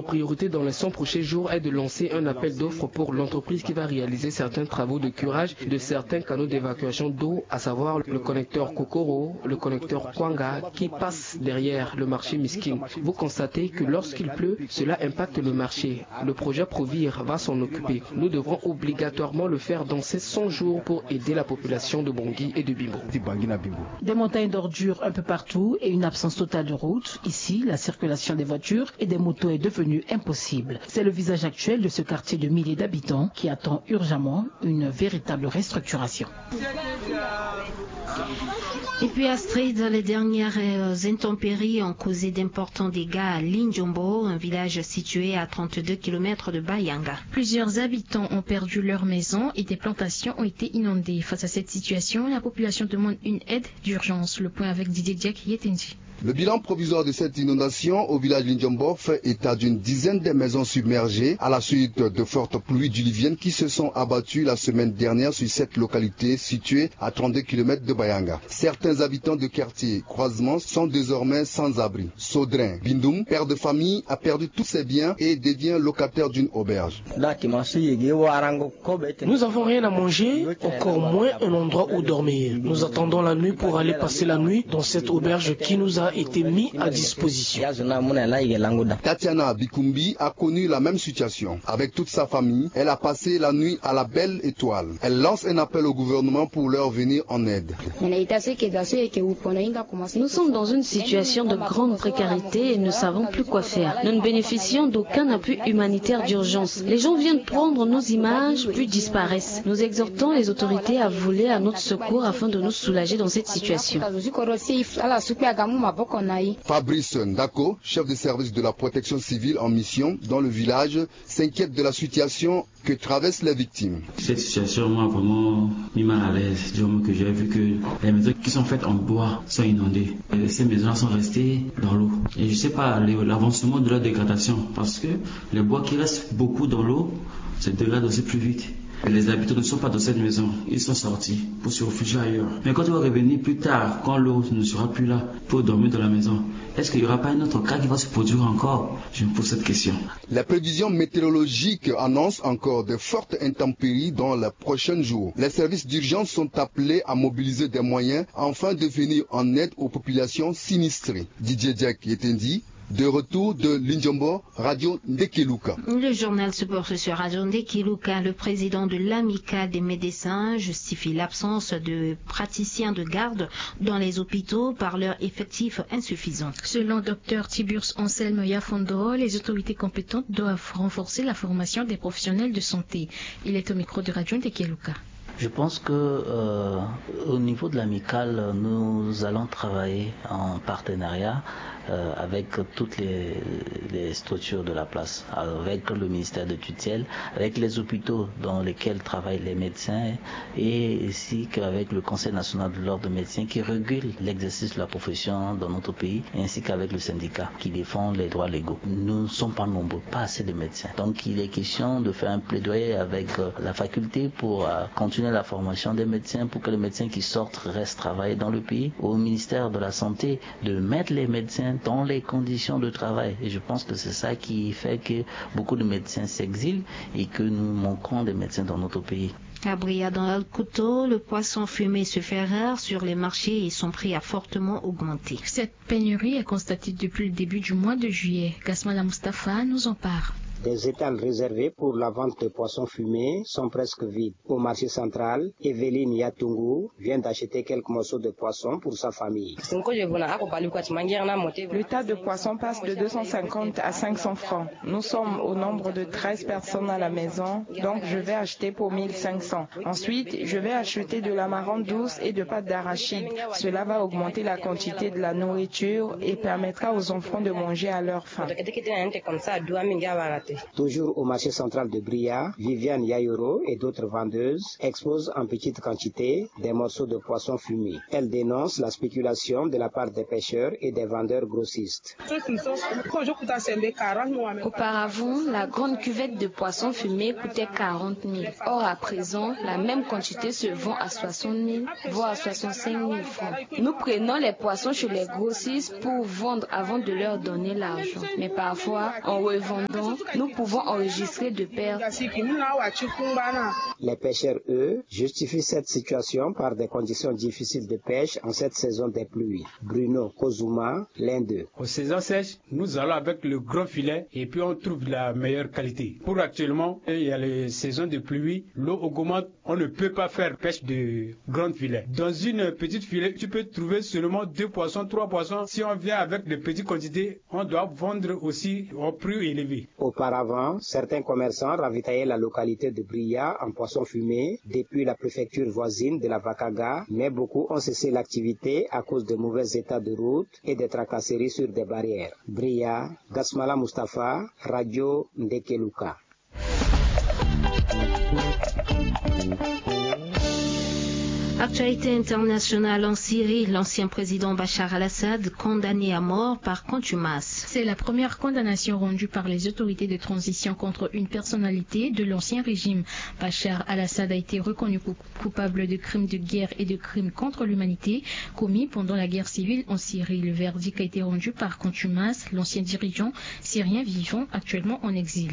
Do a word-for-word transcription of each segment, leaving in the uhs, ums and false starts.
Priorité dans les cent prochains jours est de lancer un appel d'offres pour l'entreprise qui va réaliser certains travaux de curage de certains canaux d'évacuation d'eau, à savoir le connecteur Kokoro, le connecteur Kwanga, qui passe derrière le marché Miskin. Vous constatez que lorsqu'il pleut, cela impacte le marché. Le projet Provir va s'en occuper. Nous devrons obligatoirement le faire dans ces cent jours pour aider la population de Bangui et de Bimbo. Des montagnes d'ordures un peu partout et une absence totale de route. Ici, la circulation des voitures et des motos est devenue impossible. C'est le visage actuel de ce quartier de milliers d'habitants qui attend urgemment une véritable restructuration. Et puis Astrid, les dernières euh, intempéries ont causé d'importants dégâts à Lindjombo, un village situé à trente-deux kilomètres de Bayanga. Plusieurs habitants ont perdu leur maison et des plantations ont été inondées. Face à cette situation, la population demande une aide d'urgence. Le point avec Didier Diak Yetendi. Le bilan provisoire de cette inondation au village Lindjombo fait état d'une dizaine de maisons submergées à la suite de fortes pluies diluviennes qui se sont abattues la semaine dernière sur cette localité située à trente-deux kilomètres de Bayanga. Certains habitants de quartier Croisement sont désormais sans abri. Sodrin Bindoum, père de famille, a perdu tous ses biens et devient locataire d'une auberge. Nous n'avons rien à manger, encore moins un endroit où dormir. Nous attendons la nuit pour aller passer la nuit dans cette auberge qui nous a été mise à disposition. Tatiana Bikumbi a connu la même situation. Avec toute sa famille, elle a passé la nuit à la belle étoile. Elle lance un appel au gouvernement pour leur venir en aide. Nous sommes dans une situation de grande précarité et ne savons plus quoi faire. Nous ne bénéficions d'aucun appui humanitaire d'urgence. Les gens viennent prendre nos images, puis disparaissent. Nous exhortons les autorités à voler à notre secours afin de nous soulager dans cette situation. Fabrice Ndako, chef de service de la protection civile en mission dans le village, s'inquiète de la situation que traversent les victimes. Cette situation m'a vraiment mis mal à l'aise du moment que j'ai vu que les maisons qui sont faites en bois sont inondées. Et ces maisons-là sont restées dans l'eau. Et je ne sais pas l'avancement de la dégradation parce que les bois qui restent beaucoup dans l'eau se dégradent aussi plus vite. Les habitants ne sont pas dans cette maison, ils sont sortis pour se réfugier ailleurs. Mais quand ils vont revenir plus tard, quand l'eau ne sera plus là, pour dormir dans la maison, est-ce qu'il n'y aura pas un autre cas qui va se produire encore ? Je me pose cette question. La prévision météorologique annonce encore de fortes intempéries dans les prochains jours. Les services d'urgence sont appelés à mobiliser des moyens afin de venir en aide aux populations sinistrées. Didier Diak Yetendi, de retour de Lindjombo, Radio Ndekeluka. Le journal se porte sur Radio Ndekeluka. Le président de l'Amicale des médecins justifie l'absence de praticiens de garde dans les hôpitaux par leur effectif insuffisant. Selon Dr Tiburce Anselme Yafondo, les autorités compétentes doivent renforcer la formation des professionnels de santé. Il est au micro de Radio Ndekeluka. Je pense que euh, au niveau de l'Amicale, nous allons travailler en partenariat euh, avec toutes les, les, structures de la place, avec le ministère de tutelle, avec les hôpitaux dans lesquels travaillent les médecins et ainsi qu'avec le Conseil national de l'ordre des médecins qui régule l'exercice de la profession dans notre pays, ainsi qu'avec le syndicat qui défend les droits légaux. Nous ne sommes pas nombreux, pas assez de médecins. Donc il est question de faire un plaidoyer avec euh, la faculté pour euh, continuer la formation des médecins, pour que les médecins qui sortent restent travailler dans le pays. Au ministère de la Santé, de mettre les médecins dans les conditions de travail. Et je pense que c'est ça qui fait que beaucoup de médecins s'exilent et que nous manquons de médecins dans notre pays. À Bria, dans le Couteau, le poisson fumé se fait rare sur les marchés et son prix a fortement augmenté. Cette pénurie est constatée depuis le début du mois de juillet. Gasmala Mustafa nous en parle. Des étals réservés pour la vente de poissons fumés sont presque vides. Au marché central, Evelyne Yatungu vient d'acheter quelques morceaux de poisson pour sa famille. Le tas de poissons passe de deux cent cinquante à cinq cents francs. Nous sommes au nombre de treize personnes à la maison, donc je vais acheter pour mille cinq cents. Ensuite, je vais acheter de l'amarante douce et de pâte d'arachide. Cela va augmenter la quantité de la nourriture et permettra aux enfants de manger à leur faim. Toujours au marché central de Bria, Viviane Yayoro et d'autres vendeuses exposent en petite quantité des morceaux de poisson fumé. Elles dénoncent la spéculation de la part des pêcheurs et des vendeurs grossistes. Auparavant, la grande cuvette de poissons fumés coûtait quarante mille. Or, à présent, la même quantité se vend à soixante mille, voire à soixante-cinq mille francs. Nous prenons les poissons chez les grossistes pour vendre avant de leur donner l'argent. Mais parfois, en revendant, nous pouvons enregistrer de pertes. Les pêcheurs, eux, justifient cette situation par des conditions difficiles de pêche en cette saison des pluies. Bruno Kozuma, l'un d'eux. Aux saisons sèches, nous allons avec le grand filet et puis on trouve la meilleure qualité. Pour actuellement, il y a les saisons de pluie, l'eau augmente, on ne peut pas faire pêche de grand filet. Dans une petite filet, tu peux trouver seulement deux poissons, trois poissons. Si on vient avec de petites quantités, on doit vendre aussi au prix élevé. Auparavant, certains commerçants ravitaillaient la localité de Bria en poissons fumés depuis la préfecture voisine de la Vakaga, mais beaucoup ont cessé l'activité à cause de mauvais états de route et des tracasseries sur des barrières. Bria, Gasmala Mustafa, Radio Ndekeluka. Actualité internationale en Syrie, l'ancien président Bachar al-Assad condamné à mort par contumace. C'est la première condamnation rendue par les autorités de transition contre une personnalité de l'ancien régime. Bachar al-Assad a été reconnu coupable de crimes de guerre et de crimes contre l'humanité commis pendant la guerre civile en Syrie. Le verdict a été rendu par contumace, l'ancien dirigeant syrien vivant actuellement en exil.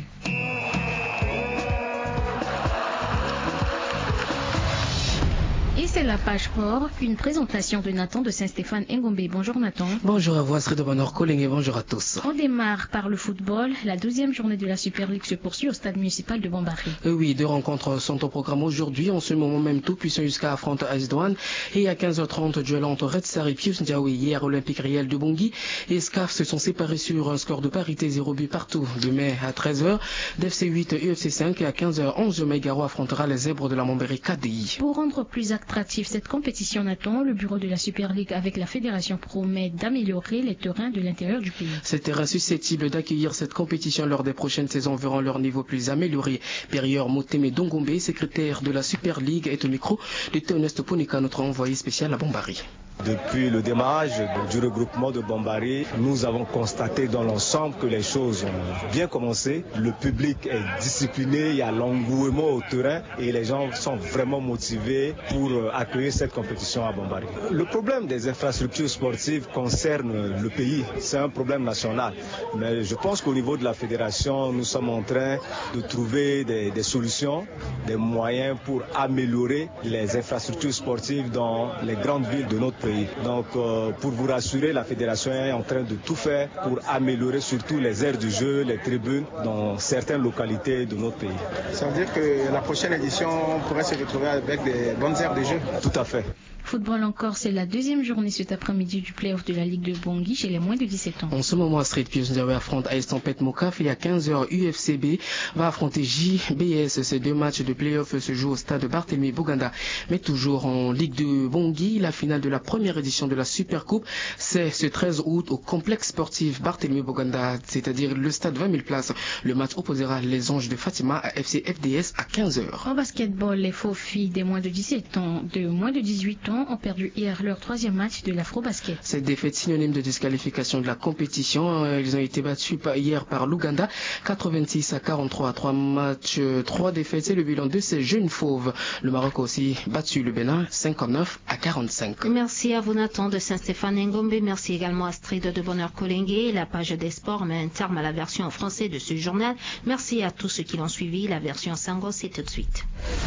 Et c'est la page sport, une présentation de Nathan de Saint-Stéphane Engombe. Bonjour Nathan. Bonjour à vous Astrid de Bonheur Colling et bonjour à tous. On démarre par le football, la douzième journée de la Super League se poursuit au stade municipal de Bombari. Et oui, deux rencontres sont au programme aujourd'hui. En ce moment même, Tout Puissant Yuska affronte Ice Douane et à quinze heures trente, duel entre Red Star et Pius Ndiaoui. Hier, Olympique Réel de Bongi et SCAF se sont séparés sur un score de parité, zéro but partout. Demain à treize heures, D F C huit et U F C cinq et à quinze heures onze, Maigaro affrontera les Zèbres de la Montbéry K D I. Pour rendre plus attractive cette compétition, Nathan, le bureau de la Super League avec la fédération promet d'améliorer les terrains de l'intérieur du pays. Ces terrains susceptibles d'accueillir cette compétition lors des prochaines saisons verront leur niveau plus amélioré. Périeur Moteme Dongombe, secrétaire de la Super League, est au micro de Théoneste Ponika, notre envoyé spécial à Bombari. Depuis le démarrage du regroupement de Bombari, nous avons constaté dans l'ensemble que les choses ont bien commencé. Le public est discipliné, il y a l'engouement au terrain et les gens sont vraiment motivés pour accueillir cette compétition à Bombari. Le problème des infrastructures sportives concerne le pays, c'est un problème national. Mais je pense qu'au niveau de la fédération, nous sommes en train de trouver des, des solutions, des moyens pour améliorer les infrastructures sportives dans les grandes villes de notre pays. Donc, euh, pour vous rassurer, la fédération est en train de tout faire pour améliorer surtout les aires de jeu, les tribunes dans certaines localités de notre pays. Ça veut dire que la prochaine édition, on pourrait se retrouver avec des bonnes aires de jeu ? Tout à fait. Football encore, c'est la deuxième journée cet après-midi du play-off de la Ligue de Bongi chez les moins de dix-sept ans. En ce moment, Astrid, Pius Ndiaoui affronte Ice Tempête Mokaf et à quinze heures, U F C B va affronter J B S. Ces deux matchs de play-off se jouent au stade Barthélemy Boganda. Mais toujours en Ligue de Bongi, la finale de la première édition de la Super Coupe, c'est ce treize août au complexe sportif Barthélemy Boganda, c'est-à-dire le stade vingt mille places. Le match opposera les Anges de Fatima à F C F D S à quinze heures. En basketball, les faux filles des moins de dix-sept ans, de moins de dix-huit ans ont perdu hier leur troisième match de l'Afrobasket. Cette défaite synonyme de disqualification de la compétition. Elles ont été battues hier par l'Ouganda, quatre-vingt-six à quarante-trois. Trois matchs, trois défaites, c'est le bilan de ces jeunes fauves. Le Maroc a aussi battu le Bénin, cinquante-neuf à quarante-cinq. Merci à vous Nathan de Saint-Stéphane Ngombe. Merci également à Astrid de Bonheur Kolengue. La page des sports met un terme à la version en français de ce journal. Merci à tous ceux qui l'ont suivi. La version Sango, c'est tout de suite.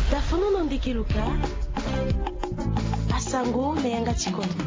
Tafono na ndeke luka. Asango na yanga ti kodro.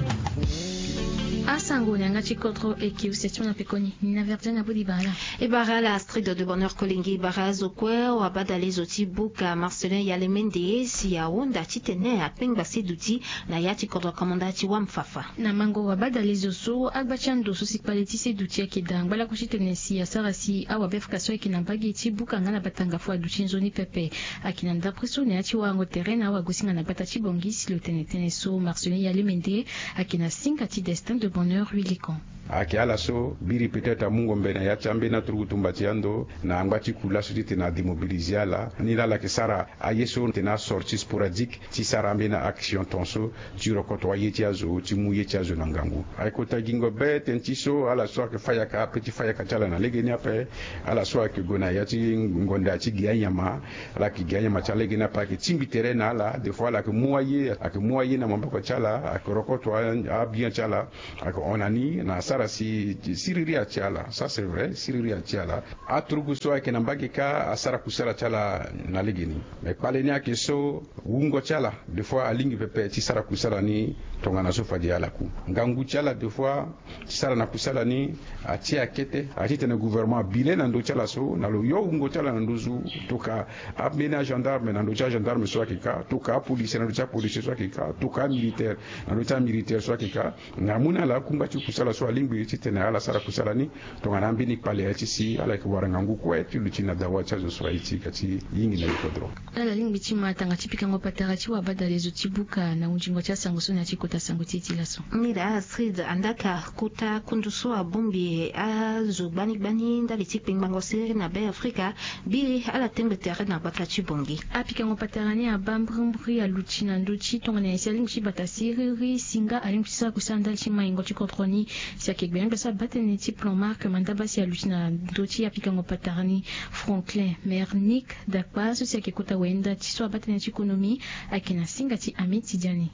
Asango na yanga ti kodro eke use ti ona pekoni. Nina Verdiane Abodi Bala. E bara la Astrid de Bonheur Kolengue, e bara azo kue wabadale zo ti buka Marcelin Yalemende si ahunda titene apengba se duti na ya ti kodro kamanda ti wamfafa. Na mango wabadale zo so agba ti ando so si kpale ti se duti ayeke daa ngbalako titene si asara si awabe faka so ayeke na mbage ti buka nga na batanga fo aduti nzoni pepe. Ayeke na ndapre so na ya ti warango tere na awagosinga na gbata ti bongi si lo tene tënë so Marcelin Yalemende ayeke na singa ti Destin de Bonheur Huilican. Ayeke ala so biri peut-être amungo mbe na ya ti ambeni aturugu tumba ti ando na angba ti ku laso titene ademobilize ala ni laa ala yeke sara aye so tene asortie sporadique ti sara ambeni action ton so ti rokoto aye ti azo ti mu ye ti azo na ngangu. Ayeke kota gingo be tene ti so ala so ayeke fayaka ape ti fayaka ti ala na legeni ape. Ala so ayeke gue na ya ti ngonda ti gi anyama, ala yeke gi anyama ti ala legeni ape ayeke tingbi tere na ala des fois ala yeke mu aye ayeke mu aye na maboko ti ala ayeke rokoto abien ti ala. Ayeke hon na ni na asara si siriri ati ala ça c'est vrai siriri ati ala. Aturugu so ayeke na mbage kâ asara kusala ti ala na legeni. Mais kpale ni ayeke so wungo ti ala des fois alingbi pepe ti sara kusala ni. Tongana so fade ala ku ngangu ti ala des fois ti sara na kusala ni. Atie akete ati tene gouvernement abile na ndö ti ala so na lo yo wungo ti ala na nduzu. Toka ambeni agendarme na ndö ti agendarme so ayeke kâ toka apolisie na ndö ti apolisie so ayeke kâ toka amilitaire na ndö ti amilitaire so ayeke kâ. Na amu na ala kungba ti kusala so alingbi titene ala sara kusala ni. Tongana ambeni kpale aye ti si ala yeke wara ngangu kue ti luti na dawa ti azo so aye ti ka ti yingi na ye kodro. Ala lingbi ti ma tanga ti pikango patara ti wabadale zo ti buka na hundingo ti asango so na ya ti kota sango ti e ti laso. Mila Astrid Andaka, kota kundu so abongbi azo gbani gbani ndali ti kpengbango siriri na be Afrika, biri ala tengbe tere na gbata ti bongi. Apikango patara ni abaa mbirimbiri aluti na ndö ti tongana nyen si alingbi ti bata siriri si nga alingbi ti sara kusala ndali ti maingo ti kodro ni. Si ayeke gbenyogbia so abaa tënë ti plan mark mandaba si aluti na ndö ti apikango patara ni. Franklin Mernick Dakpa so si ayeke kota wenda ti so abaa tënë ti konomi ayeke na singa ti Amid Tidiani.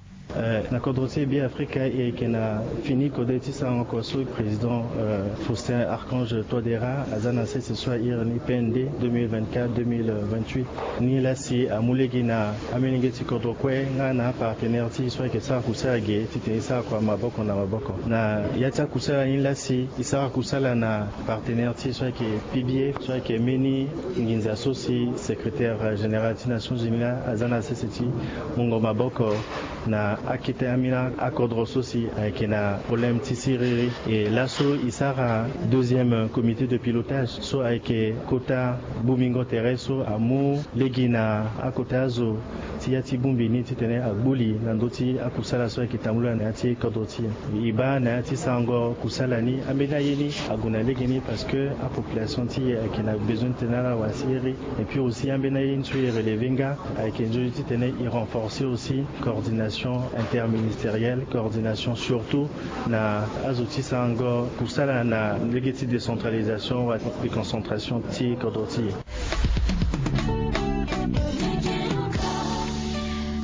Na kodro ti e Be Afrika e yeke na fini kode ti sarango oko so président Faustin Archange Touadéra aza na sese so a iri ni P N D deux mille vingt-quatre deux mille vingt-huit. Ni laa si amu lege na amolenge ti kodro kue nga na apartenaire ti e so ayeke sara kusala ge titene e sara kua maboko na maboko na ya ti akusala ni laa si e sara kusala na partenaire ti e so ayeke P B A so ayeke mbeni nginza so si secrétaire général ti Nations Unies laa aza na sese ti mungo maboko na akete ambeni akodro so si ayeke na problème ti siriri. E laso e sara deuxième comité de pilotage so ayeke kota bongbingo tere so amu lege na akota azo ti ya ti bongbi ni titene agbu li na ndö ti akusala so ayeke tambula na ya ti kodro ti e. E baa na ya ti sarango kusala ni ambeni aye ni ague na lege ni parce que apopulation ti e ayeke na besoin titene ala wara siriri. Et puis aussi ambeni aye ni so e relever nga ayeke nzoni titene e renforcer aussi coordination interministérielle, coordination surtout na azo ti sarango kusala na lege ti décentralisation wala déconcentration ti kodro ti e.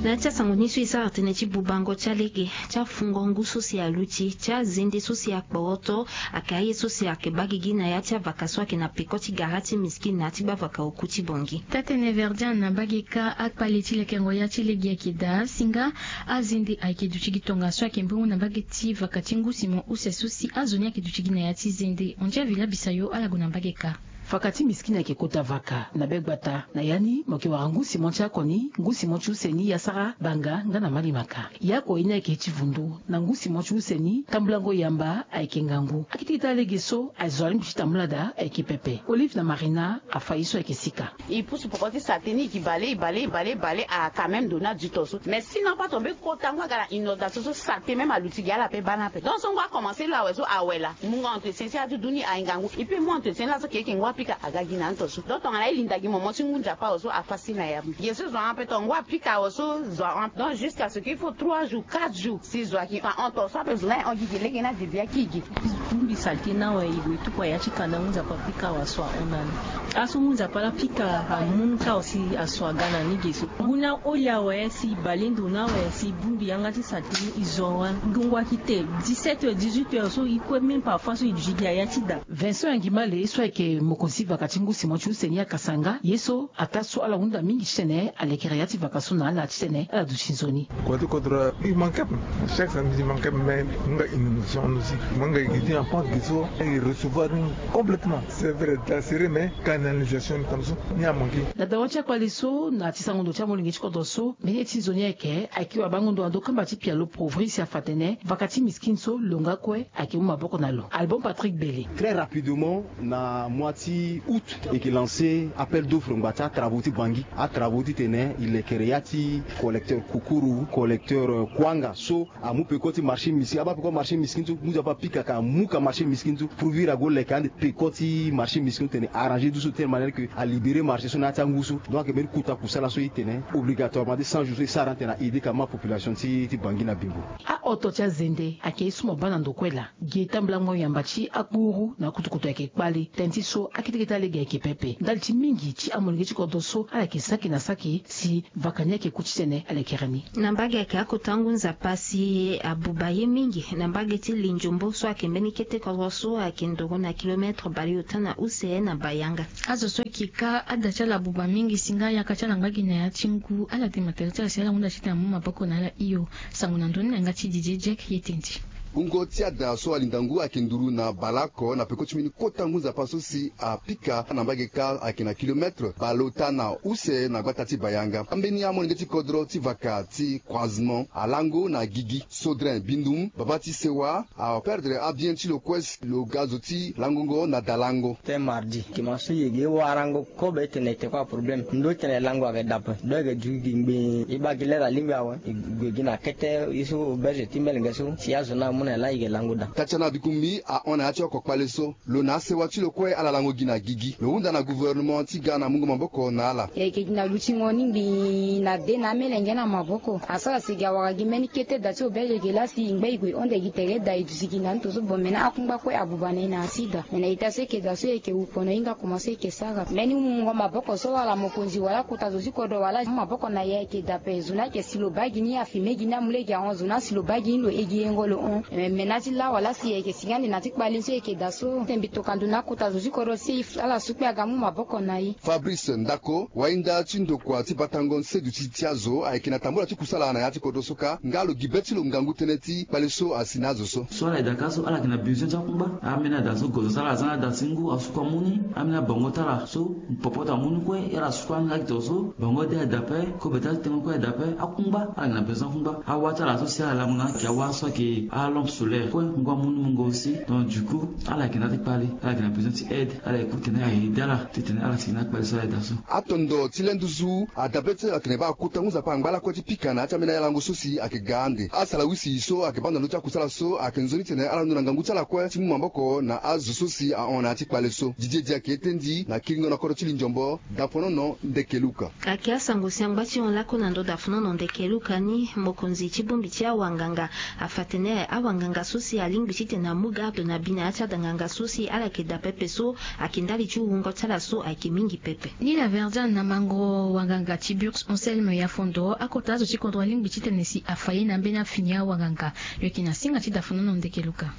Na ya ti asango ni so e sara tënë ti bubango ti alege ti afungo ngu so si aluti ti azende so si akporoto. Ayeke aye so si ayeke baa gigi na ya ti avaka so ayeke na peko ti gara ti miskine na ya ti gbavaka oku ti bongi. Taa-tënë Verdian na mbage kâ akpale ti lekengo ya ti lege ayeke daa si nga azende ayeke duti gi tongaso ayeke mbungu na mbage ti vaka ti ngu simo use so si azo ni ayeke duti gi na ya ti zende. Ondia vila bisayo ala gue na mbage kâ. Vaka ti miskine ayeke kota vaka na be gbata na ya ni mo yeke wara ngu simo ti akoni ngu simo ti use ni yasara banga nga na malimaka. Yako ye ni ayeke ti vundu na ngu simo ti use ni tambulango yamba ayeke ngangu akete ita lege so azo alingbi ti tambula daa ayeke pepe olive na marina afa ye so ayeke sika. E pusu poko ti sate ni e ki bale e bale e bale e bale a quand même ndo ni aduto so mais si na apato mbe kota ngu aga na inondation so sate même aluti gi ala pe baa ni ape donc so ngu akomanse lo awe so awe laa mungo entretien ti adudu ni aye ngangu e pe mu entretien ni laa so keke ngu apika aga gi na ni to so donc tongana e linda gi momo ti ngu nzapa awe so afa si na ya gi so zo ape to ngu apika awe so zo ape donc jusqu'à ce qu'il faut trois jours quatre jours si zo aki fa hon to so ape zo na e hon gi gi lege ni adi bia ki gi. Bongbi salite ni awe e gue tukua ya ti kanda ngu nzapa pika awe aso ahon na ni. Aso ngu nzapa laa pika amu ni kâ awe si aso aga na ni ge so ngu ni aholi awe si e bale ndo ni awe si e bongbi yanga ti salite ni e zo awe. Ngongo aki te dix-sept heures dix-huit heures so e kue même parfois so e duti gi aya ti da. Vincent Yangimale so ayeke mokonzi vaka ti ngu simo ti use ni akasa nga ye so ataa so ala hunda mingi titene alekere ya ti vaka so na ala titene ala duti nzoni. Kua ti kodro e manke ape. Chaque samedi e manke ape mais nga inondation aussi nga e gi ti en pente gi so e recevoir ni complètement c'est vrai da sere mais canalisation ni tam so ni amanke. Na dawa ti akpale so na ti sango ndo ti amolenge ti kodro so mbeni ye ti nzoni ayeke ayeke wabango ndo na ndo kamba ti pialo pauvri si afa tene vaka ti miskine so lo nga kue ayeke mu maboko na lo. Album Patrick Bele. Très rapidement na mois ti ti août, e ke lancer appel d'offre ngba ti atravo ti bangi. Atravo titene e lekere ya ti collecteur kukuru, collecteur kuanga so amu peko ti marché miskin aba peko ti marché miskin so ngu so ape apika ka amu ka marché miskin so prouver ago leke ande peko ti marché miskin so tene arranger du so tene manière ke alibérer marché so na ya ti angu so. Donc ayeke mbeni kota kusala so e tene obligatoirement ti cent jours so e sara ande tene a aider ka ma population ti bangi na bingo. Ahoto ti azende ayeke e so mo baa na ndokue laa. Gi e tambulango yamba ti akpuru na akutukutu ayeke kpale tënë ti so akete kete alege ayeke pepe ndali ti mingi ti amolenge ti kodro so ala yeke saki na saki si vaka ni ayeke ku titene alekere ni. Na mbage ayeke akota ngu nzapa si abuba ye mingi na mbage ti linjombo so ayeke mbeni kete kodro so ayeke ndoro na kilometre baleota na use na bayanga. Azo so ayeke ka ada ti ala abuba mingi si nga ayaka ti ala ngba gi na ya ti ngu ala de matériel ti ala si ala hunda titene amu maboko na ala hio. Sango na ndoni na yanga ti Didier Diek ye tenti. Wungo ti ada so alinda ngu ayeke nduru na baleoko na peko ti mbeni kota ngu nzapa so si apika na mbage kâ ayeke na kilometre baleota na use na gbata ti bayanga. Ambeni amolenge ti kodro ti vaka ti croisement alango na gigi sodrin bindum baba ti sewa aperdre abien ti lo kue si lo ga zo ti langongo na dalango. Tënë mardi kima so yege e warango kobe e tene e te kue aproblème ndo e tene lango ayeke dape ndo ayeke du gi ngbii e baa gi lere alingbi awe. E gue gi na kete ye so berge ti melenge so si azo ni amu na e laa e yeke lango daa. Tatiana bikungbi ahon na ya ti oko kpale so lo na asewa ti lo kue ala lango gi na gigi lo hunda na gouvernement ti ga na mungo maboko na ala. E yeke gi na lutingo ni ngbii na de na amelenge na maboko asara si gi awara gi mbeni kete da ti obelege laa si e ngba e gue hon de gi tere da e duti gi na ni to so bon me na akungba kue abuba na e na asida me na ita so e yeke da so e yeke wu pono hinga koma so e yeke sara mbeni mungo maboko so wala mokonzi wala kota zo ti kodro wala maboko na e ayeke dape zo ni ayeke si lo baa gi ni afi me gi ni amu lege ahon zo ni asi lo baa gi ni lo he gi yengo lo hon. Me na ti la wala si e yeke si nga ande na ti kpale ni so e yeke da so te mbi toka ndo na akota zo ti kodro si ala su kpe aga mu maboko na e. Fabrice ndako wainda ti ndokua ti batango nseduti ti azo ayeke na tambola ti kusala na ya ti kodro so kâ nga lo gi be ti lo ngangu tënë ti kpale so asi na azo so. So ala yeda kâ so ala yeke na besoin ti akungba ambeni ada so gozo ti ala aza na ada ti ngu asuku amu ni. Ambeni abango ti ala so popo ti amu ni kue e ala suku anga gi to so bango de ada ape kobe ti atengo kue ada ape akungba ala yeke na besoin ti akungba awa ti ala so si ala lango na ayeke awa so ayeke alampe solaire kue ngu amu ni mungo aussi. Donc du coup ala yeke na ya ti kpale ala yeke na besoin ti aide ala yeke ku tene aye ede ala titene ala si na akpale so ala yeda so. Atondo ti le nduzu adabe ti atene baa akota ngu nzapa angba lakue ti pika na ya ti ambeni alango so si ayeke ga ande asala wisi so ayeke baa na ndö ti akusala so ayeke nzoni tene ala londo na ngangu ti ala kue ti mu maboko na azo so si ahon na ya ti kpale so. Didier di ayeke ete ndi na kiringo na kodro ti linjombo daponono ndeke luka. Ayeke asango si angba ti hon lakue na ndö daponono ndeke luka ni mokonzi ti bongbi ti awanganga afa tene awanganga so si alingbi titene amu garde na bi na ya ti adanganga so si ala yeke daa pepe so ayeke ndali ti wungo ti ala so ayeke mingi pepe. Ni na verdian na mango wanganga ti burks onselme ya fondo akota azo ti kodro alingbi titene si afa ye na ambeni afini awanganga. Lo yeke na singa ti dafonono ndeke luka.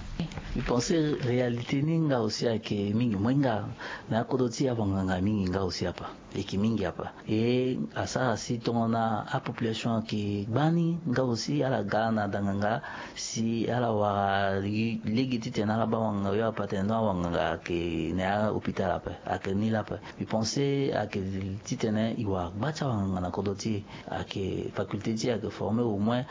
Mbi pense réalité ni nga aussi ayeke mingi moi nga na akodro ti awanganga mingi nga aussi apa. Eki mingi apa e asara si tongana apopulation ayeke gbani nga aussi ala ga na danganga si ala wara lege titene ala baa wanganga yo apa tene donc awanganga ayeke na ya hôpital ape ayeke ni lape. Mbi pense ayeke titene e wara gba ti awanganga na kodro ti e ayeke faculté ti e ayeke forme au moins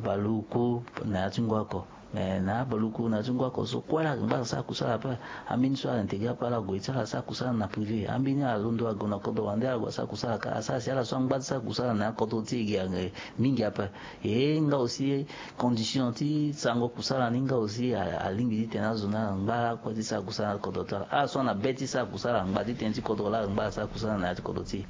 baluku na ya ti ngu oko. Me na abaluku na ti ngu oko so kue ala yeke ngba asara kusala ape. Ambeni so ala intégré ape ala gue ti ala asara kusala na privé ambeni ala londo ague na kodro wande ala gue asara kusala kâ asara si ala so angba ti sara kusala na akodro ti e gi ayeke mingi ape. E nga aussi condition ti sarango kusala ni nga aussi alingbi titene azo ni ala ngba ala kue ti sara kusala na kodro ti ala ala so ana be ti sara kusala ala ngba ti tënë ti kodro laa ala ngba ala sara kusala na ya ti kodro ti e.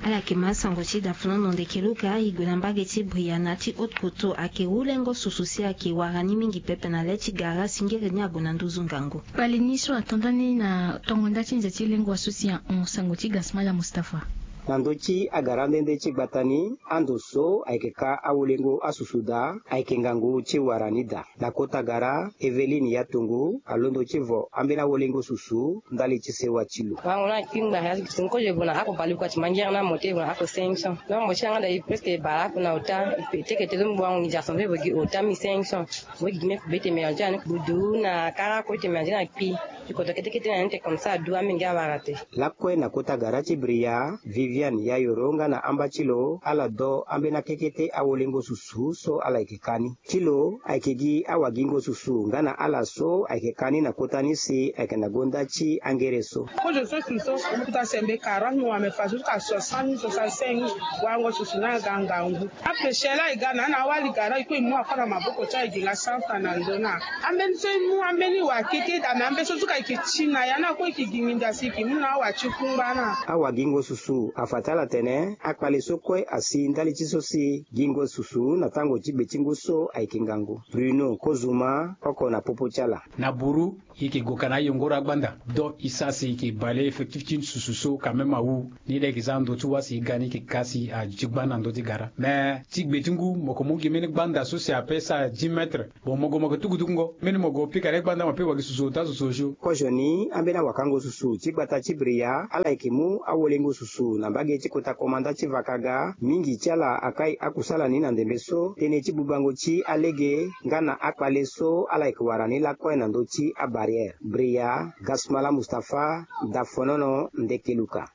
Ala yeke ma asango ti dafonono ndeke luka e gue na mbage ti bria na ti haute koto ayeke wulengo susu si ayeke wara ni mingi pepe na le ti gara singiri ni ague na nduzu ngangu. Kpale ni so ato nda ni na tongo nda ti nze ti lengua so si ahon sango ti gasmala mustapha. Na ndö ti agara nde nde ti gbata ni ando so ayeke ka awolengo asusu daa ayeke ngangu ti wara ni daa. Na kota gara eveline ya tongo alondo ti vo ambeni awolengo susu ndali ti sewa ti lo. Wango na kpingba ya ti kozo e vo na ako baleoko ati mangere na mo te e vo na ako cinq cents. Donc mo ti yanga da e presque baleoko na ota. Teke te so mo wango ngi ti assemble vo gi ota mi cinq cents. Mo gi gi me kube ti tene me yande ti ani kube du na kara kue ti tene me yande ti na kpi. Ti kodro kete kete na ni te comme ça adu amenge awara te. Lakue na kota gara ti Bria, Viviane Yayoro nga na amba ti lo ala do ambeni akekete awolengo susu so ala yeke ka ni. Ti lo ayeke gi awagingo susu nga na ala so ayeke ka ni na kota ni si ayeke na gonda ti angere so. Kozo so susu so kuta sembe quarante mo wame fa so ka soixante mille soixante-cinq mille. Wango susu na aga ngangu. Apeshe la e ga na na awali gara e kue e mu akua na maboko ti aye gi nga santa na ndo na. Ambeni so e mu ambeni wa kete da me ambe so so ka e ke ti na ya na kue e ke gi nginda si e ke mu na awa ti kungba na. Awagingo susu afa ti ala tene akpale so kue asi ndali ti so si gingo susu na tango ti gbe ti ngu so ayeke ngangu. Bruno Kozuma oko na popo ti ala. Na buru e yeke gue ka na ayongoro agbanda. Donc e sara si e yeke bale effectif ti susu so quand même awu. Ni la e yeke za ndo ti wa si e ga ni e yeke ka si aduti gbanda na ndö ti gara. Mais ti gbe ti ngu mo yeke mu gi mbeni gbanda so si ape sara dix mètres. Bon mo gue mo yeke tuku tukungo mbeni mo gue pika na e gbanda mo pe wagi susu ota susu osio. Kozo ni ambeni awakango susu ti gbata ti Bria ala yeke mu awolengo susu na mbage ti kota komanda ti Vakaga. Mingi ti ala akai akusala ni na ndembe so tënë ti bubango ti alege nga na akpale so ala yeke wara ni lakue na ndö ti abarrière. Bria, Gasmala Mustapha, Dafonono, Ndekeluka.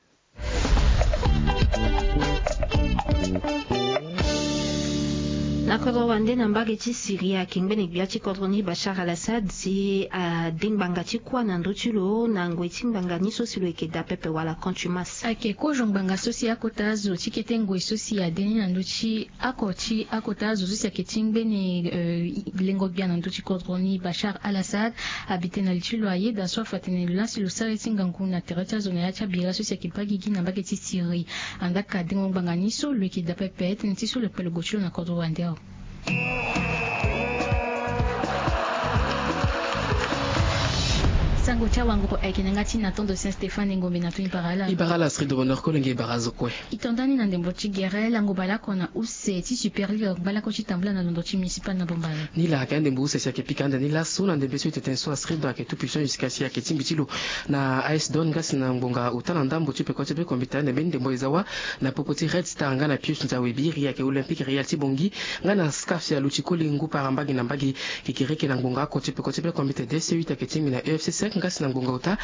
Na kodro wande na mbage ti Syrie ayeke ngbene gbia ti kodro ni Bachar al-Assad si ade ngbanga ti kuâ na ndö ti lo na ngoi ti ngbanga ni so si lo yeke daa pepe wala contumace. Ayeke kozo ngbanga so si akota azo ti kete ngoi so si ade ni na ndö ti oko ti akota azo so si ayeke ti ngbene, eh, lengo gbia na ndö ti kodro ni Bachar al-Assad abi tene na li ti lo ayeda so afa tene lo laa si lo sara ye ti ngangu na tere ti azo na ya ti abira so si ayeke baa gigi na mbage ti Syrie. Andaa ka dengo ngbanga ni so lo yeke daa pepe tënë ti so lo kpe logo ti lo na kodro wande awe. Sango ti awanguru ayeke na yanga ti Nathan de Saint Stéphane Ngombe na toni bara ala. I bara ala Astrid de Bonheur Kolenge, i bara azo kue. I to nda ni na ndembo ti gere lango bale oko na use ti Super League ngbalako ti tambula na londo ti municipal na Bombari. Ni la ayeke andembo use si ayeke pika ande ni laso na ndembe so e tene so Astrid ayeke tout puissant jusqu'à si ayeke tingbi ti lo na A S Douanes nga si na ngbonga ota na ndambo ti peko ti be kombita ande mbeni ndembo e za wa na popo ti Red Star nga na Pius Nzawe Biri ayeke Olympique Real ti Bangui nga na SCAF si aluti koli ngu para mbage na mbage. Kekereke na ngbonga oko ti peko ti be kombita D C huit ayeke tingbi na U F C cinq nga si na ngbonga ota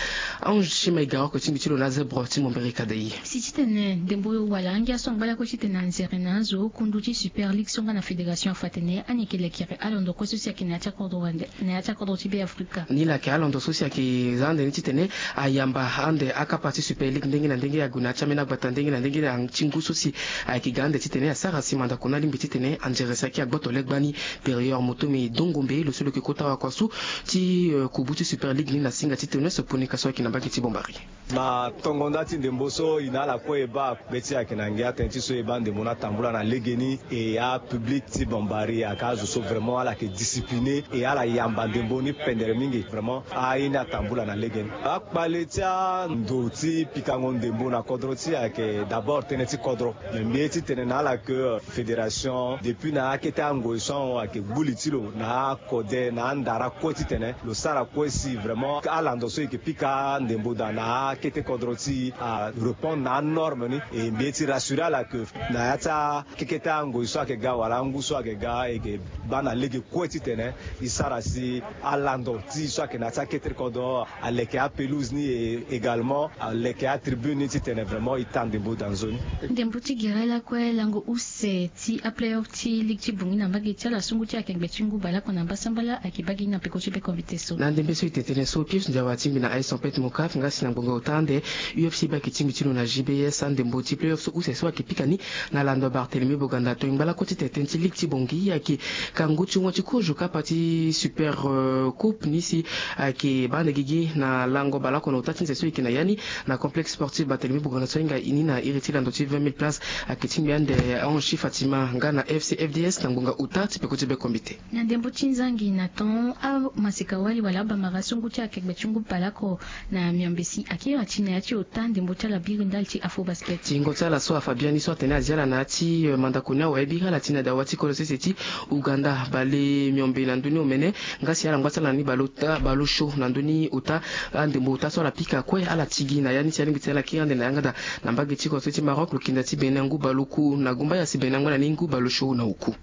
Ange Shima Igara oko tingbi ti lo na Zebro ti Mombere Kadei. Si titene ndembo wala angia so angba lakue titene anzere na azo kundu ti Super League so nga na fédération afa tene ani yeke lekere alondo kue so si ayeke na ya ti akodro wande na ya ti akodro ti Be Afrika. Ni la ayeke alondo so si ayeke za ande ni titene ayamba ande akapa ti Super League ndenge na ndenge ague na ya ti ambeni agbata ndenge na ndenge na ti ngu so si ayeke ga ande titene asara si mandako ni alingbi titene anzere si ayeke agboto legba ni. Périeur Motomi Dongombe lo so lo yeke kota wakua so ti, eh, kubu ti Super League ni na singa ti Teunès Ponika so ayeke na mbage ti Bombari. Na tongo nda ti ndembo so e na ala kue e baa be ti e ayeke na ngia tënë ti so e baa ndembo ni atambula na legeni. E apublic ti Bombari ayeke azo so vraiment ala yeke discipliné e ala yamba ndembo ni pendere mingi vraiment. Aye ni atambula na legeni. Akpale ti ando ti pikango ndembo na kodro ti e ayeke d'abord tënë ti kodro. Me mbi ye titene na ala ke, euh, fédération depuis na akete angoi so ahon ayeke gbu li ti lo na akode na andara kue titene lo sara kue si vraiment alando so e yeke pika ndembo daa na akete kodro ti e arépondre na anorme ni. E mbi ye ti rassurer ala ke na ya ti akekete angoi so ayeke ga wala angu so ayeke ga e yeke baa na lege kue titene e sara si alando ti e so ayeke na ya ti akete kodro aleke apelouse ni e également aleke atribune ni titene vraiment e taa ndembo daa nzoni. Ndembo ti gere lakue lango use ti aplayoff ti ligue ti Bangui na mbage ti ala so ngu ti akengbe ti ngu baleoko na mbasambala ayeke baa gi na peko ti be kombite so. Na ndembe so e tene tënë so Pius Nzawe atingbi na A S Tempête Mocaf nga si na ngbonga ota ande U F C baa ayeke tingbi ti lo na J B S andembo ti playoff so use so ayeke pika ni na lando Barthélemy Boganda to e ngba lakue titene tënë ti ligue ti Bangui ayeke ka ngu ti ngoi ti kozo kapa ti Super, euh, Coupe ni si ayeke baa ande gigi na lango baleoko na ota ti nze so e yeke na ya ni na complexe sportif Barthélemy Boganda so ahinga e ni na iri ti lando ti vingt mille places. Ayeke tingbi ande ahon ti Fatima nga na F C F D S na ngbonga ota ti peko ti be kombite. Na ndembo ti nzangi na ton amaseka wali wala abamara so ngu ti akengbe ti ngu baleoko na miombe si akiri ati na ya ti ota ndembo ti ala biri ndali ti Afrobasket. Tingo ti ala so afa biani so atene azi ala na ya ti, eh, mandako ni awe biri ala ti na dawa ti kodro sese ti Ouganda bale miombe na ndö ni omene. Nga si ala ngba ti ala na ni baleota baleosio na ndö ni ota andembo ota so ala pika kue ala ti gi na ya ni si alingbi ti ala kiri ande na yanga daa na mbage ti kodro ti Maroc lo kinda ti Bénin ngu baleoku na gumbaya si Bénin angba na ni ngu baleosio na oku.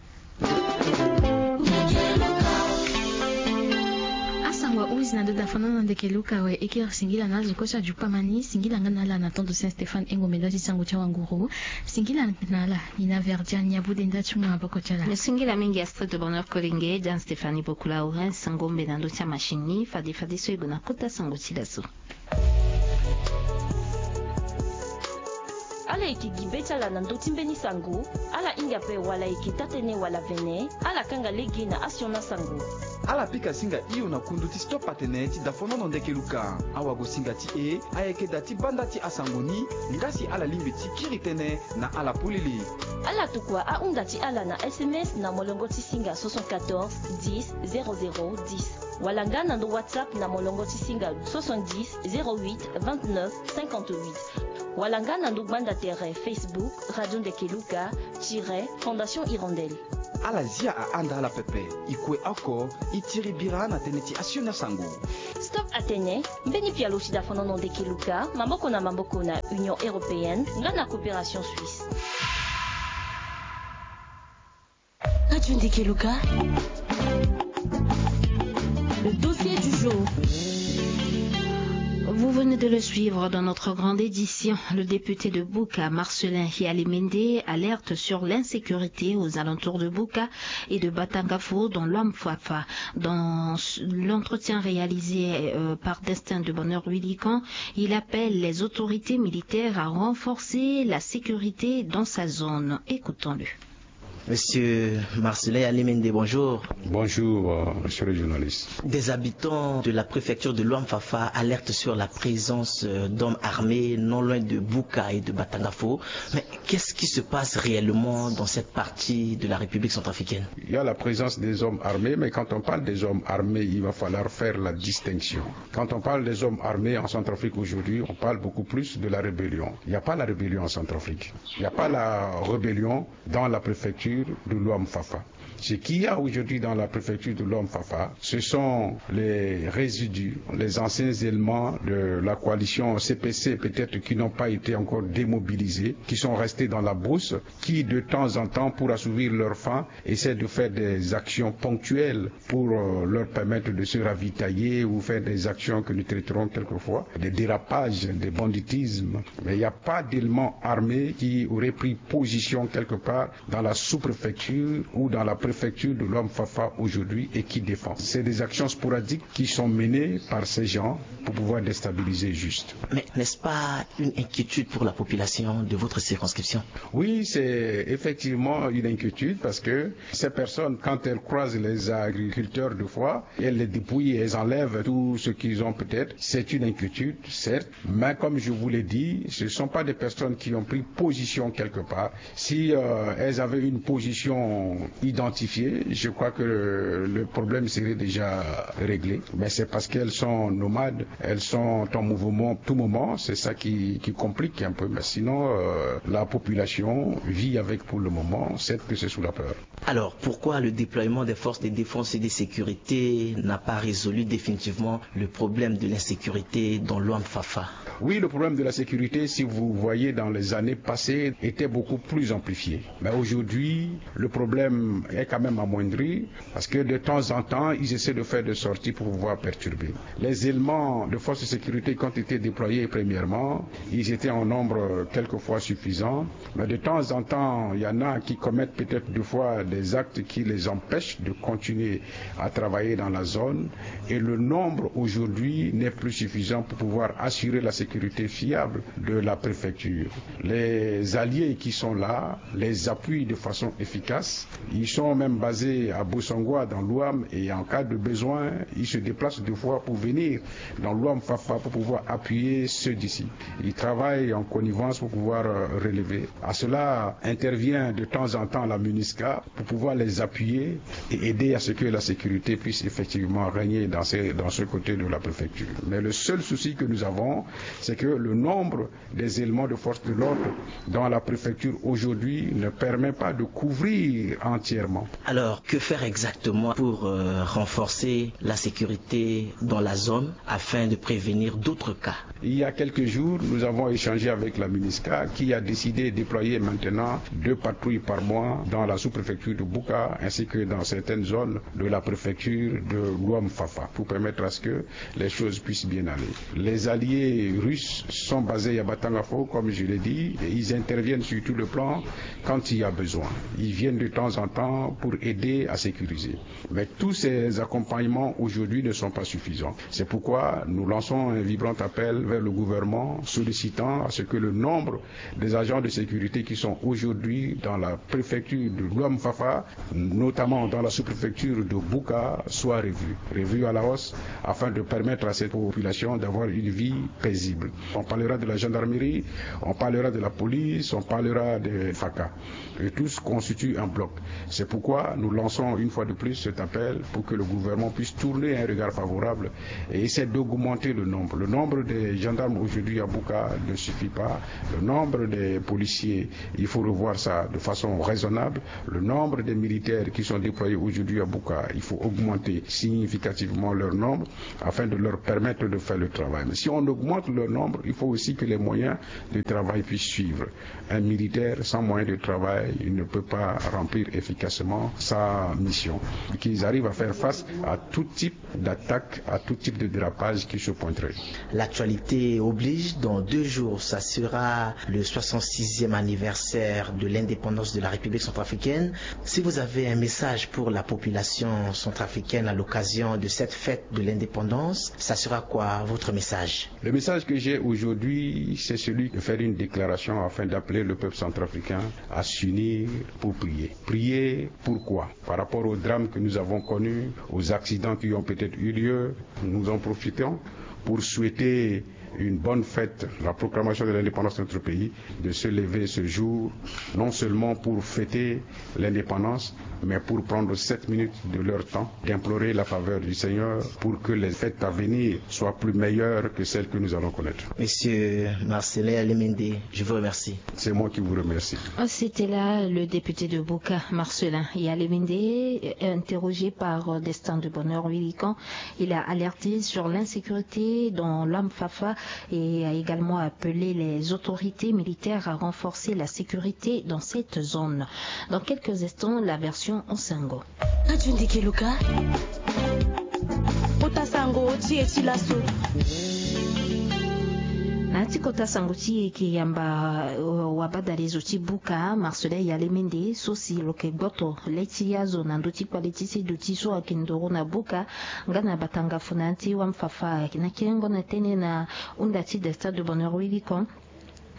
Asango ahunzi na ndo daa fana na Keluka we eke singila na azo kue so ajupa ma ni, singila nga na ala na tondo Saint Stéphane Engombe nda ti sango ti awanguru. Singila na ala ni na Verdian Niabude nda ti mu maboko ti ala. Singila mingi Astrid de Bonheur Kolenge, Diane Stéphanie Bokula Orens Ngombe na ndö ti amachine ni, fade fade so e gue na kota sango ti laso. Ala yeke gi be ti ala na ndö ti mbeni sango. Ala hinga ape wala yeke taa-tënë wala vene, ala kanga lege na asioni asango. Ala pika singa hio na kundu ti Stop Atene ti dafonono ndeke luka. Awagosinga ti e ayeke da ti banda ti asango ni, nga si ala lingbi ti kiri tënë na ala polele. Ala tokua ahunda ti ala na S M S na molongo ti singa soixante-quatorze dix zéro zéro dix, wala nga na ndö WhatsApp na molongo ti singa soixante-dix zéro huit vingt-neuf cinquante-huit, wala nga na ndö gbanda tere Facebook Radio Ndeke Luka tiret Fondation Hirondelle. Ala zia ahanda ala pepe. E kue oko, e tiri bira na tënë ti asioni asango. Stop Atene, mbeni pialo ti dafonono ndeke luka, maboko na maboko na Union Européenne nga na Coopération Suisse. Radio Ndeke Luka. Le dossier du jour. Vous venez de le suivre dans notre grande édition. Le député de Buka, Marcelin Hialimende, alerte sur l'insécurité aux alentours de Buka et de Batangafo dans l'Ouham-Fafa. Dans s-, l'entretien réalisé, euh, par Destin de Bonheur Willican, il appelle les autorités militaires à renforcer la sécurité dans sa zone. Écoutons-le. Monsieur Marcelin Alimende, bonjour. Bonjour, euh, monsieur le journaliste. Des habitants de la préfecture de l'Ouham-Fafa alertent sur la présence, euh, d'hommes armés non loin de Buka et de Batangafo. Mais qu'est-ce qui se passe réellement dans cette partie de la République centrafricaine ? Il y a la présence des hommes armés, mais quand on parle des hommes armés, il va falloir faire la distinction. Quand on parle des hommes armés en Centrafrique aujourd'hui, on parle beaucoup plus de la rébellion. Il n'y a pas la rébellion en Centrafrique. Il n'y a pas la rébellion dans la préfecture de l'Ouham-Fafa. Ce qu'il y a aujourd'hui dans la préfecture de l'Ouham-Fafa, ce sont les résidus, les anciens éléments de la coalition C P C, peut-être qui n'ont pas été encore démobilisés, qui sont restés dans la brousse, qui de temps en temps, pour assouvir leur faim, essaient de faire des actions ponctuelles pour, euh, leur permettre de se ravitailler ou faire des actions que nous traiterons quelquefois des dérapages, des banditismes. Mais il n'y a pas d'éléments armés qui auraient pris position quelque part dans la sous-préfecture ou dans la préfecture de l'Ouham-Fafa aujourd'hui et qui défend. C'est des actions sporadiques qui sont menées par ces gens pour pouvoir déstabiliser juste. Mais n'est-ce pas une inquiétude pour la population de votre circonscription ? Oui, c'est effectivement une inquiétude parce que ces personnes, quand elles croisent les agriculteurs de fois, elles les dépouillent, elles enlèvent tout ce qu'ils ont peut-être. C'est une inquiétude, certes, mais comme je vous l'ai dit, ce ne sont pas des personnes qui ont pris position quelque part. Si, euh, elles avaient une position identifiée, je crois que le, le problème serait déjà réglé. Mais c'est parce qu'elles sont nomades, elles sont en mouvement tout moment, c'est ça qui, qui complique un peu. Mais sinon, euh, la population vit avec pour le moment, certes que c'est sous la peur. Alors, pourquoi le déploiement des forces de défense et de sécurité n'a pas résolu définitivement le problème de l'insécurité dans l'Ouham-Fafa ? Oui, le problème de la sécurité, si vous voyez, dans les années passées, était beaucoup plus amplifié. Mais aujourd'hui, le problème est quand même amoindri, parce que de temps en temps, ils essaient de faire des sorties pour pouvoir perturber. Les éléments de force de sécurité qui ont été déployés, premièrement, ils étaient en nombre quelquefois suffisant. Mais de temps en temps, il y en a qui commettent peut-être des fois des actes qui les empêchent de continuer à travailler dans la zone. Et le nombre aujourd'hui n'est plus suffisant pour pouvoir assurer la sécurité fiable de la préfecture. Les alliés qui sont là les appuient de façon efficace. Ils sont même basés à Bossangoa dans l'Ouham et en cas de besoin, ils se déplacent deux fois pour venir dans l'Ouham-Fafa pour pouvoir appuyer ceux d'ici. Ils travaillent en connivence pour pouvoir, euh, relever. À cela intervient de temps en temps la MINUSCA pour pouvoir les appuyer et aider à ce que la sécurité puisse effectivement régner dans ce, dans ce côté de la préfecture. Mais le seul souci que nous avons, c'est que le nombre des éléments de force de l'ordre dans la préfecture aujourd'hui ne permet pas de couvrir entièrement. Alors, que faire exactement pour euh, renforcer la sécurité dans la zone afin de prévenir d'autres cas? Il y a quelques jours, nous avons échangé avec la MINUSCA, qui a décidé de déployer maintenant deux patrouilles par mois dans la sous-préfecture de Bouka ainsi que dans certaines zones de la préfecture de Luamfafa, pour permettre à ce que les choses puissent bien aller. Les alliés russes sont basés à Batangafo, comme je l'ai dit, et ils interviennent sur tout le plan quand il y a besoin. Ils viennent de temps en temps pour aider à sécuriser. Mais tous ces accompagnements aujourd'hui ne sont pas suffisants. C'est pourquoi nous lançons un vibrant appel vers le gouvernement, sollicitant à ce que le nombre des agents de sécurité qui sont aujourd'hui dans la préfecture de Luamfafa, notamment dans la sous-préfecture de Bouka, soit revu, revu à la hausse, afin de permettre à cette population d'avoir une vie paisible. On parlera de la gendarmerie, on parlera de la police, on parlera de FACA. Et tous constituent un bloc. C'est pourquoi nous lançons une fois de plus cet appel pour que le gouvernement puisse tourner un regard favorable et essayer d'augmenter le nombre. Le nombre des gendarmes aujourd'hui à Bouka ne suffit pas. Le nombre des policiers, il faut revoir ça de façon raisonnable. Le nombre des militaires qui sont déployés aujourd'hui à Bouka, il faut augmenter significativement leur nombre afin de leur permettre de faire le travail. Mais si on augmente leur nombre, il faut aussi que les moyens de travail puissent suivre. Un militaire sans moyens de travail, il ne peut pas remplir efficacement sa mission. Qu'ils arrivent à faire face à tout type d'attaque, à tout type de dérapage qui se pointerait. L'actualité oblige, dans deux jours, ça sera le soixante-sixième anniversaire de l'indépendance de la République centrafricaine. Si vous avez un message pour la population centrafricaine à l'occasion de cette fête de l'indépendance, ça sera quoi votre message? Le message que j'ai aujourd'hui, c'est celui de faire une déclaration afin d'appeler le peuple centrafricain à s'unir pour prier. Prier pourquoi? Par rapport aux drames que nous avons connus, aux accidents qui ont peut-être eu lieu, nous en profitons pour souhaiter une bonne fête, la proclamation de l'indépendance de notre pays, de se lever ce jour, non seulement pour fêter l'indépendance, mais pour prendre sept minutes de leur temps, d'implorer la faveur du Seigneur pour que les fêtes à venir soient plus meilleures que celles que nous allons connaître. Monsieur Marcelin Yalemende, je vous remercie. C'est moi qui vous remercie. C'était là le député de Bouka, Marcelin Yalemende, interrogé par Destin de Bonheur Wilikan. Il a alerté sur l'insécurité dans l'Amfafa et a également appelé les autorités militaires à renforcer la sécurité dans cette zone. Dans quelques instants, la version en sango. Katundi Keluka. Kota sango ti e ti laso. Na ya ti kota sango ti e, e yeke yamba wabadale zo ti Bouka, Marcelin Yalemende, so si lo yeke gboto le ti azo na ndö ti kpale ti seduti so ayeke ndoro na Bouka nga na Batangafo na ya ti Wamfafa. Na kiringo na tënë na hunda ti Destin de Bonheur Wilikan,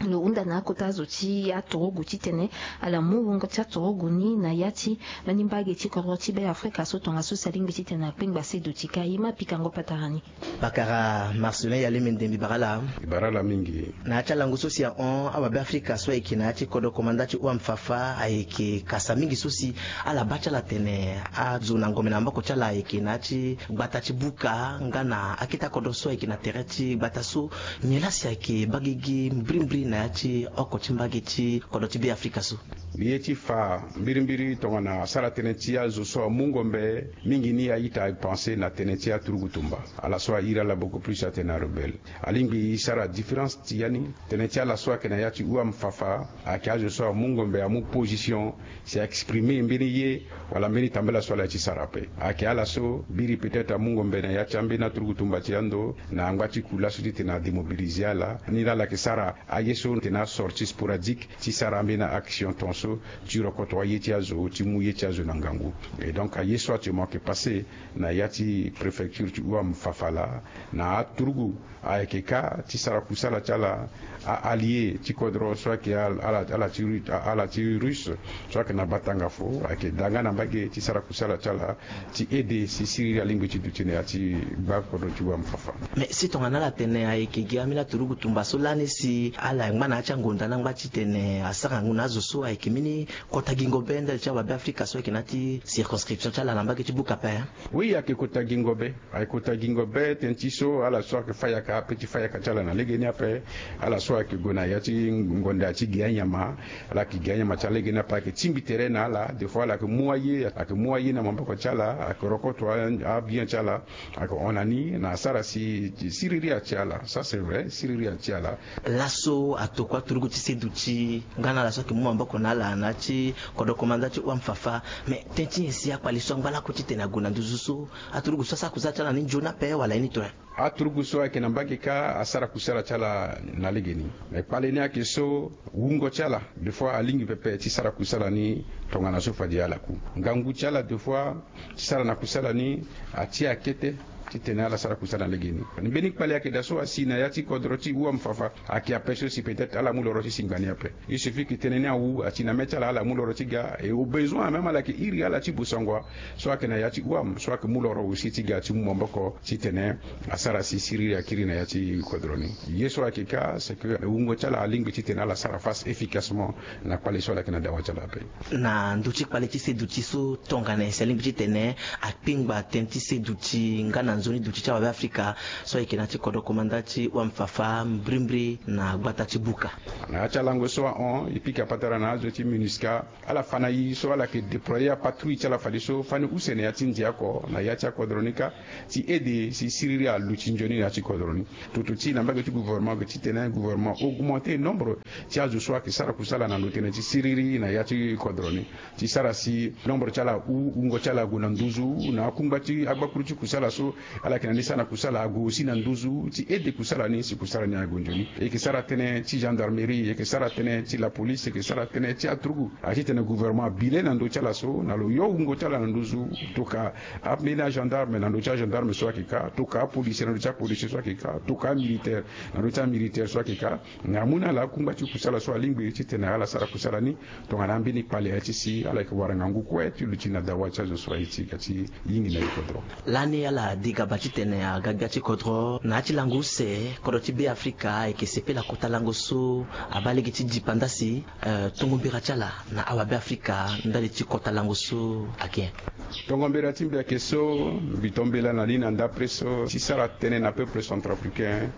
lo hunda na akota zo ti aturugu titene ala mu wungo ti aturugu ni na ya ti mbeni mbage ti kodro ti Be Afrika so tongaso si alingbi titene akpengba seduti ka. E ma pikango patara ni. Pakara Marcelin Yalemende, mbi bara ala. Mbi bara ala mingi. Na ya ti alango so si ahon, awabe Afrika so ayeke na ya ti kodro komanda ti Wamfafa ayeke kasa mingi so si ala baa ti ala atene azo na ngombe na maboko ti ala ayeke na ya ti gbata ti Bouka nga na akete akodro so ayeke na tere ti gbata so. Nyen laa si ayeke baa gigi mbirimbiri na ya ti oko ti mbage ti kodro ti Be Afrika so? Mbi ye ti fa mbirimbiri tongana asara tënë ti azo so amu ngombe mingi ni a-ita apense na tënë ti aturugu tumba. Ala so a iri ala beaucoup plus atene arebelle. Alingbi e sara différence ti ya ni. Tënë ti ala so ayeke na ya ti Wamfafa ayeke azo so amu ngombe, amu position si a exprimer mbeni ye wala mbeni tambela so ala ye ti sara ape. Ayeke ala so biri peut-être amu ngombe na ya ti ambeni aturugu tumba ti ando na angba ti ku laso titene a démobiliser ala. Ni laa ala yeke sara aye so titene asortie sporadique ti sara ambeni action tongaso ti rokoto aye ti azo, ti mu ye ti azo na ngangu. Et donc aye so actuellement ayeke passé na ya ti préfecture ti Wamfafa laa, na aturugu ayeke kâ ti sara kusala ti ala, a-allié ti kodro so ayeke ala, ala ti Ru-, ala ti Russe so ayeke na Batangafo ayeke daa nga na mbage ti sara kusala ti ala ti aidé si siriri alingbi ti duti na ya ti gbakodro ti Wamfafa. Mais si tongana ala tene ayeke gi ambeni aturugu tumba so lani si ala Angba na ya ti angonda ni angba titene asara ngangu na azo so ayeke mbeni kota gingo be ndali ti awabe afrika so ayeke na ya ti circonscription ti ala na mbage ti buka ape. Oui, ayeke kota gingo be. Ayeke kota gingo be tënë ti so ala so ayeke fa yaka ape ti fa yaka ti ala na legeni ape. Ala so ayeke gue na ya ti ngonda ti ge anyama, ala yeke ge anyama ti ala legeni ape ayeke tingbi tere na ala. Des fois ala yeke mu aye, ayeke mu aye na maboko ti ala, ayeke rokoto abien ti ala, ayeke hon na ni na asara si siriri ati ala. Ça c'est vrai, siriri ati ala. Laso atokua aturugu ti seduti nga na ala so ayeke mu maboko na ala na ya ti kodro komanda ti wam fafa. Mais tënë ti nyen si akpale so angba lakue titene ague na nduzu so aturugu so asara kusala ti ala ni nzoni ape wala ye ni tue? Aturugu so ayeke na mbage kâ asara kusala ti ala na legeni. Mais kpale ni ayeke so wungo ti ala des fois alingbi pepe ti sara kusala ni tongana so fade ala ku. Ngangu ti ala des fois ti sara na kusala ni ati akete titene ala sara kusala na legeni. Mbeni kpale ayeke daa so asi na ya ti kodro ti wam fafa. Ayeke ape so si peut-être ala mu loro ti singba ni ape. Il suffit que tënë ni awu ati na mê ti ala, ala mu loro ti ga. Et au besoin même ala yeke iri ala ti bosangoa so ayeke na ya ti wam so ayeke mu loro aussi ti ga ti mu maboko titene asara si siriri akiri na ya ti kodro ni. Ye so ayeke kâ c'est que wungo ti ala alingbi titene ala sara face efficacement na kpale so ala yeke na dawa ti ala ape. Na ndö ti kpale ti seduti so tongana nyen si alingbi titene akpingba tënë ti seduti nga na nzoni duti ti awabe afrika so ayeke na ya ti kodro komanda ti wam fafa mbrimbri na gbata ti buka? Na ya ti alango so ahon e pika patara na azo ti minusca. Ala fa na e so ala yeke déployer apatrouille ti ala fadeso fani use na ya ti ndia oko na ya ti akodro ni kâ ti aide si siriri aluti nzoni na ya ti kodro ni. Toto ti e na mbage ti gouvernement ayeke titene gouvernement augmenter nombre ti azo so ayeke sara kusala na ndo tënë ti siriri na ya ti kodro ni ti sara si nombre ti ala ahu, wungo ti ala ague na nduzu na akungba ti agbakuru ti kusala so ala yeke na ni sara na kusala ague aussi na nduzu ti aide kusala ni si kusala ni ague nzoni. E yeke sara tënë ti gendarmerie, e yeke sara tënë ti la police, e yeke sara tënë ti aturugu. Atitene gouvernement abile na ndö ti ala so na lo yo wungo ti ala na nduzu. Tokua ambeni agendarme na ndö ti agendarme so ayeke kâ, tokua apolisier na ndö ti apolisier so ayeke kâ, tokua amilitaire na ndö ti amilitaire so ayeke kâ. Na amu na ala akungba ti kusala so alingbi titene ala sara kusala ni tongana ambeni kpale ya ti si ala yeke wara ngangu kue ti luti na dawa ti azo so aye ti ga ti yingi na e kodro. Lani ala di gaba titene aga gbia ti kodro na ya ti lango use kodro ti be afrika ayeke sepela kota lango so abaa lege ti dipanda si, eh, tongo mbira ti ala na awabe afrika ndali ti kota lango so ayeke nyen? Tongo mbira ti mbi ayeke so mbi to mbela na ni na ndapre so ti sara tënë na peuple centrafricain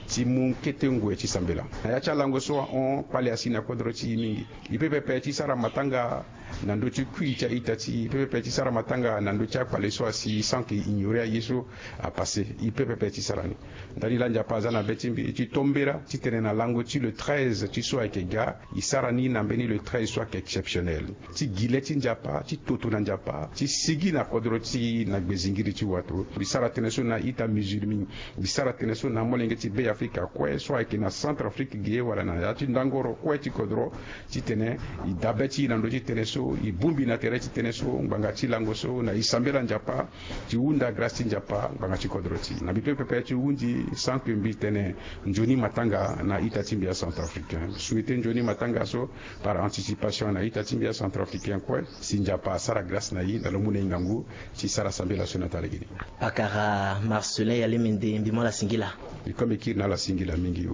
ti mu kete ngoi ti sambela. Na ya ti alango so ahon kpale asi na kodro ti e mingi. E peut pepe ti sara matanga na ndö ti kui ti a-ita ti e. E peut pepe ti sara matanga na ndö ti akpale so asi sans que e ignorer aye so apasse. E peut pepe ti sara ni. Ndani laa Nzapa aza na be ti mbi ti to mbela titene na lango ti le treize ti so ayeke ga e sara ni na mbeni le treize so ayeke exceptionnel. Ti gi le ti Nzapa, ti toto na Nzapa, ti sigi na kodro ti e na gbezingiri ti wato. Mbi sara tënë so na a-ita musulmi. Mbi sara tënë so na amolenge ti be afrika kue so ayeke na Centrafrique ge wala na ya ti ndangoro kue ti kodro titene e dabe ti e na ndö ti tënë so, e bongbi na tere ti tënë so ngbanga ti lango so na e sambela Nzapa ti hunda grâce ti Nzapa ngbanga ti kodro ti e. Na mbi peut pepe ti hundi sans que mbi tene nzoni matanga na a-ita ti mbi acentrafricain. Souhaiter nzoni matanga so par anticipation na a-ita ti mbi acentrafricain kue si Nzapa asara grâce na e na lo mu na e ngangu ti sara sambela so na taa lege ni. Pakara Marcelin Yalemende, mbi mu ala singila. Mbi kue mbi kiri na ala singila mingi.